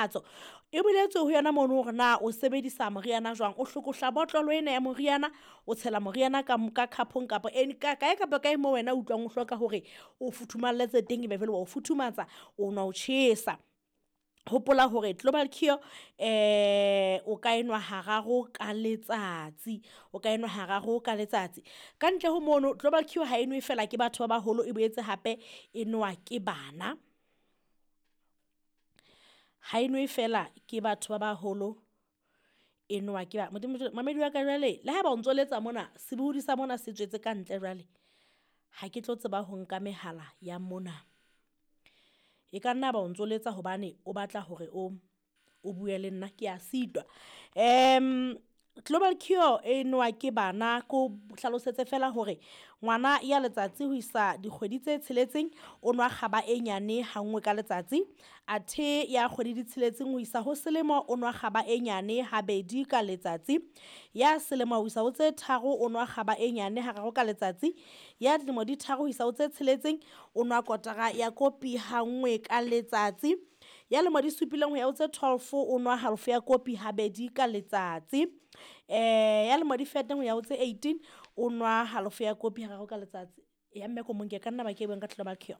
E boletswe ho yona mono hore na o sebedisa moriana jwang. O hlokohla botlolo ena ya moriana, o tshela moriana ka cup-ong kapa kae kapa kae moo wena o utlwang o hloka hore o futhumalletse teng, ebe jwale wa o futhumatsa, o nwa o tjhesa. Hopola hore Global Cure o ka enwa hararo ka letsatsi, o ka enwa hararo ka letsatsi. Ka ntle ho mono, Global Cure ha e nwe fela ke batho ba baholo, e boetse hape e nowa ke bana. Ha e nwe fela ke batho ba baholo, e nowa ke ba Modimo. Mamedi wa ka jwale, le haeba o ntso letsa mona, sebohodi sa mona se tswetse ka ntle jwale, ha ke tlo tseba ho nka mehala ya mona. E ka nna ba o ntso letsa hobane o batla hore o bue le nna, ke a sitwa. Global Cure e nowa ke bana, ko hlalosetse fela hore ngwana ya letsatsi ho isa dikgwedi tse tsheletseng o nwa kgaba e nyane ha nngwe ka letsatsi. Athe ya kgwedi di tsheletseng ho isa ho selemo o nwa kgaba e nyane habedi ka letsatsi. Ya selemo ho isa ho tse tharo o nwa kgaba e nyane hararo ka letsatsi. Ya dilemo di tharo ho isa ho tse tsheletseng o nwa kotara ya kopi ha nngwe ka letsatsi. Ya lemo di supileng ho ya ho tse 12 o nwa halofo ya kopi habedi ka letsatsi. Ya lemo di fetang ho ya ho tse 18 o nwa halofo ya kopi hararo ka letsatsi. Ya mme ko monke ka nna ba ke buang ka Global Cure.